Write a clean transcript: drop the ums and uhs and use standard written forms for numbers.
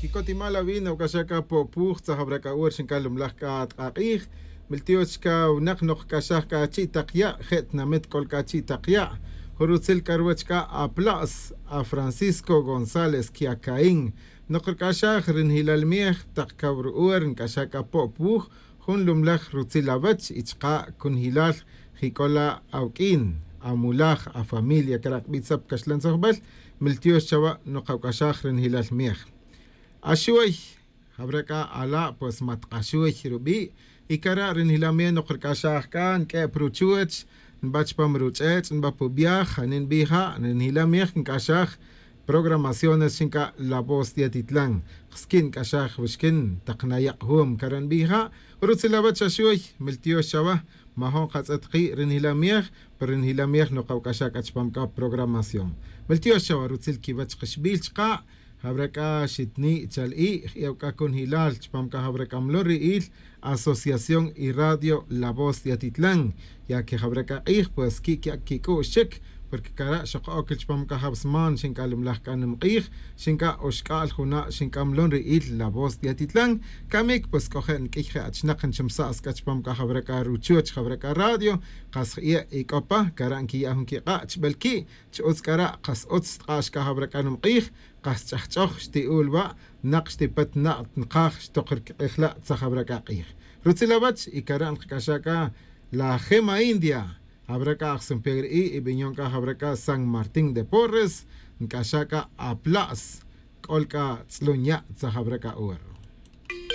Kikotimal awin awk'axaj Pop Wuj tzajab'rak awur xinkal lumlaj k'a tq'aq'ij miltiox ka wnaq noq k'axaj k'a chi' taq ya' je' tinamit k'ol k'a chi' taq ya' jurutzil k'arwach k'a apla's a Francisco González Kiakaín noq rk'axaj rinjilal miej taq kawru'uer nk'axaj k'a Pop Wuj jun lumlaj rutzil awach y chqa kunjilal jik'ola awk'in amulaj a familia karak b'itzap kaxlan tzojb'al miltiox chawa noq awk'axaj rinjilal miej axuy habrá ala pues matqaxuy rub'i y kara rinjilal noq rk'axaj k'a nk'e pruchuch nb'ach pam ruch'ech nb'a pubiaj janin b'ija rinjilal miej nk'axaj programaciones xinka La Voz de Atitlán skin k'axaj wixkin taq nayaq hum karan b'ija rutzilawach axuy miltiox chawa majon qatz'et qi rinjilal miej pero rinjilal miej noq awk'axaj k'ach pam k'a programación miltiox chawa rutzil kiwach qixb'il chqa habrá xitni chal'i yawk'a kun hilal chpam ka habrá il Asociación y Radio La Voz de Atitlán ya que habrá q'ij pues ki kik'u'xik porque kara xoq chpam ka habsman xinka lumlaj k'anem q'ij xinka oxk'al juna xinka mlon ri'il La Voz de Atitlán kamik pues k'oje nk'ij je achnaq nchimsa'as k'a chpam ka habrá ruchuch habrá radio qas i'e ik'opa kara nkiya' jun kiq'a' chb'el ki' ch'utz k'ara qas utz tq'ax ka habrá k'anem q'ij qas ch'ajch'oj xti'ul wa' naq xtipat na' nqaj xtoq rq'ijla' tzaj habrá q'ij rutzilawach y kara nqk'axa k'a la Gema India habrá k'a ajsumpegri'i y b'iñon k'a habrá k'a San Martín de Porres nk'axa k'a apla's k'ol k'a tz'lun ya' tzaj habrá k'a uwer.